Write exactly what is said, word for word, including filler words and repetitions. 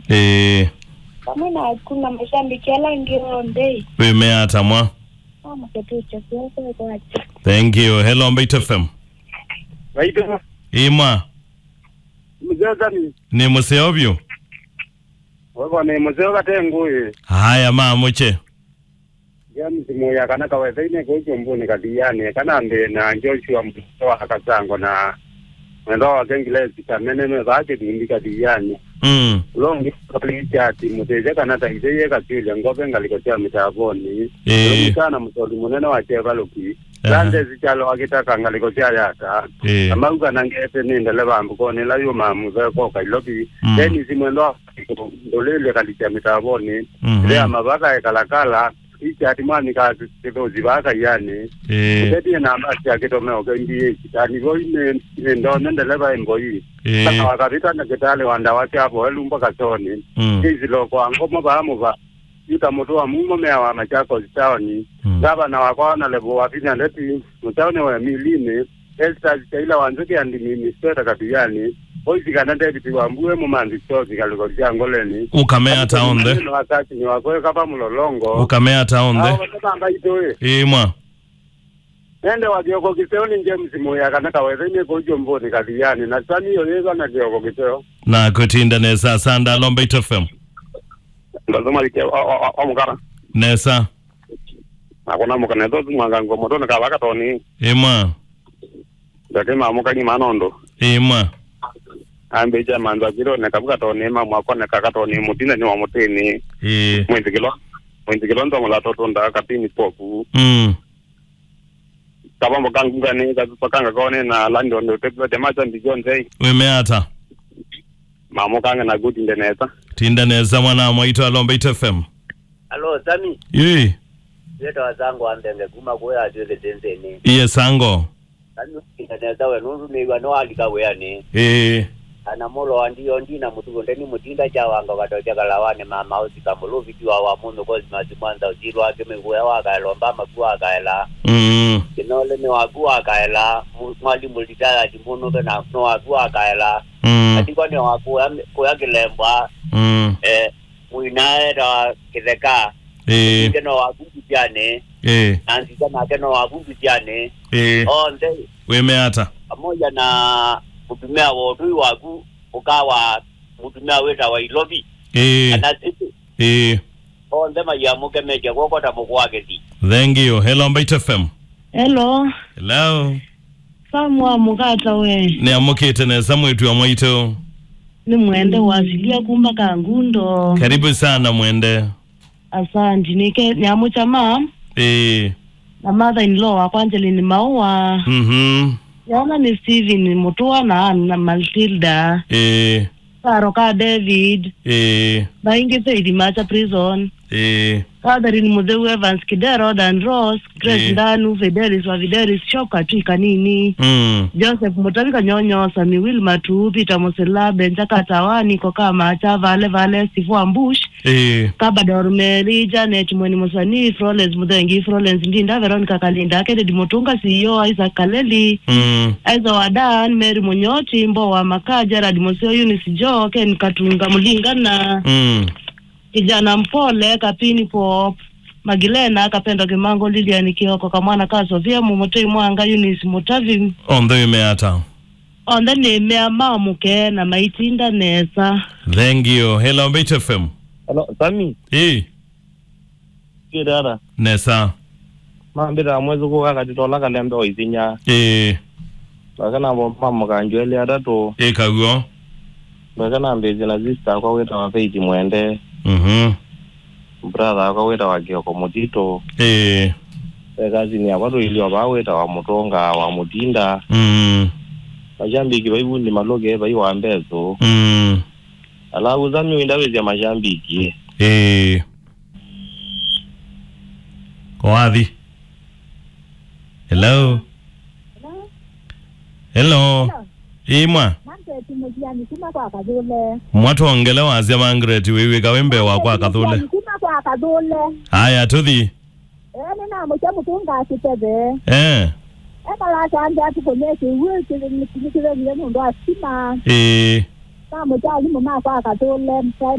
Ĩĩ. Vamwe naku na mashabiki ala angĩ onthe. Wĩmea ata mwa? Amũketĩkya kuoko kwake. Thank you. Hello, Mbaitu F M. Mbaitu. Ĩĩ mwa. Mzee Sami. Nĩ mũseo vyũ. Wego nĩ mũseo kate ngũĩ. Haya, ma mũche. James Muya kana Kawetheinĩ kũu Kyũmbũnĩ Kathianĩ, kana mbĩ na Joshua Mũtũa wa Kasango na mwendwa wake Ngilesi Kamene me vaa Kĩthumbi Kathianĩ. Mm. Ũla ũngĩ Richard Mũtĩsya kana Taithĩie Kasyũlya Ngove ngalĩko sya Mĩtavonĩ. Ĩĩ. Ũla mũkana mũsoli mũnene wa Kyevalũki. Aha. Sandesi Kyalo akĩtaka ngalĩko sya Yata. Ĩĩ. Na mauga na ngete nĩ ndeleva mbukonĩ ĩla yũmaa mũtheko Kailovi. Mm. Dennis mwendwa wa Ndũlĩlye Kalikya Mĩtavonĩ. Mhm. Lea Mavaka ekalakala. Richard Mwami ka kĩthũsi vaa Kaianĩ. Ĩĩ. Mũtetie namba sya kĩtomeo K B H. Tani voi nĩ nĩ ndone ndeleva ĩ mboi. Ĩĩ. Kana wakavĩta ndakĩtalĩ wa ndawa sya voelu mboka Soni. Mm. Kĩsiloko wa ngomo vaa mũva. Yuta mũtũ wa mumo mea wa Machakos Town. Mm. Gavana wakwa Honorable Wavinya Ndeti, mũtaũnĩ wa Emilinĩ, Estas Chaila wa Nzũkĩ andimini Sweta Kathianĩ, Voice kana David wa Mbue mũmanthi Stosi ngalĩko sya Ngoleni. Ũkamea ata onthe? Nĩ wakati nĩ wakweka pa Mũlolongo. Ũkamea ata onthe? Ao onthe mamba itũĩ. Ĩĩ mwa. Nende wa kĩoko kĩseo nĩ James Muya kana Kawetheinĩ kũu Kyũmbũnĩ Kathianĩ, na Sami ũyĩva na kĩoko kĩseo. Na kũtinda nesa, Sanda Lomba Ito F M. Ndasema likia wa, wa, wa, wa mukara. Nesa. Nakona mukana ĩtho mwanga ngo moto na kava katoni. Ĩĩ mwa. Ndakema mukani manondo. Ĩĩ mwa. Ambe cha manza kiro na kavu katoni ma mwako na kakatoni mutinda ni wa mutini. Ĩĩ. Mwinzi kilo. Mwinzi kilo ndo mula toto nda kapini poku. Mm. Kavambo kangu ngane, kavambo kanga kone na London, utekulete macha ndi John Jay. Wĩmea ata? Mamo kanga na good ndenesa. Tinda nesa mwana mwaitũ Alomba Ito F M. Alo, Sami. Ĩĩ. Yeta wasango ambenge kuma kuya atweke senseni. Iye sango. Sami, tinda nesa we nundu nĩw'a no alika wĩanĩ. Ĩĩ. Ana mũlo wa ndio ndi na mũtugo ndeni mũtinda kya wanga ũkatokya kalawanĩ mama ũsika mũlũvi tiwa wa mũndũ Cosmas Mwanza ũsilwa akĩmĩkũya wakaela ũmbama ku wakaela. Mm. Kĩnole nĩ waku wakaela, mu- mwalimũ retired mũnũke na nĩ waku wakaela. Mm. Atikwa nĩ wakuya kũya kĩlembwa. Mm. Eh, mũinae ta kĩtheka. Ĩĩ. Nake no waku ndutyanĩ. Ĩĩ. Na nzika nake no waku ndutyanĩ. Ĩĩ. Onthe. Wĩmea ata? Pamoja na mũtumĩa wa ũtũi waku ũkawa mũtumĩa wĩtawa Ilovi. Ĩĩ. Kana City. Ĩĩ. Onthe maiamũkemekya kw'oko ta mũkũ wa kĩthi. Thank you. Hello, Mbaitu F M. Hello. Hello. Sam wa mũkata we. Nĩamũkĩte nesa mwĩtu wa mwaitũ. Nĩ Mwende wasilia kuma Kangundo. Karibu sana Mwende. Asanti. Nĩke nyamũcha ma. Ĩĩ. Na mother in law wakwa Angeline Maua. Mhm. Yana nĩ Steven Mutua na Anna Matilda. Ĩĩ. Karo ka David. Ĩĩ. Na ingĩ Faith Macha Prison. Ĩĩ. Catherine Mutheu, Evans Kidero, Dan Ross, Grace Ĩĩ. Ndanu, Fidelis wa Fidelis, Shoka Twi Kanini. Mm. Joseph Mutavi Kanyonyo, Sami Will Matu, Peter Musila, Benja Katawa, Niko Kama, Cha Vale Vale, Sifu Ambush. Ĩĩ. Kabador Mary, Janet Mweni Musani, Florence Muthengi, Florence Ndinda, Veronica Kalinda, Kennedy Mutunga, C E O, Isaac Kaleli, Mm. Aiza wa Dan, Mary Munyoti, Mbo wa Maka, Gerard Museo, Eunice Joe, Ken Katunga Mulingana, Mm. Kijana Mpole, Kapini Pop, Magilena, Kapendo Kimango, Lilian Kioko, Kamwana ka Sofia, Mumutei Mwanga, Eunice Mutavi. Onthe wĩmea ata? Onthe nĩmea mamũke na maitinda nesa. Thank you. Hello, Mbaitu F M. Hello, Sami. Ĩĩ. Kĩte ata? Nesa. Mambĩta mwĩsũkũ kakatitola kalembe o isinya. Ĩĩ. Ndweke navo mamũkanjweli atatũ. Ĩ kaw'o. Ndweke nambĩĩsye na sister akwa wĩtawa Faith Mwende. Mhm. Brother akwa wĩtawa Kioko Mũtitũ. Ĩĩ. Ve cousin yakwa tũilio vaa wĩtawa Mũtũnga wa Mũtinda. Mm. Mashambiki vai vundi malũke vai wa mbesũ. Mm. Alavu Sami wĩndavĩsya mashambiki. Ĩĩ. Wathi. Hello. Hello. Hello. Ĩĩ mwa. Margaret Mũtiani kuma kwa Kathũle. Mwatwongele wasya Margaret wĩw'ĩka wĩ mbee wa kwa Kathũle. Mũtiani kuma kwa Kathũle. Aya tũthi. Ee, nĩnamũkya Mũtũnga Kĩteve. Eh. Ekalakambya atukũnĩe kĩw'ũ kĩthĩnĩkĩthĩnie nũndũ wa stima. Ĩĩ. Namũkya alimũ ma kwa Kathũle, primary.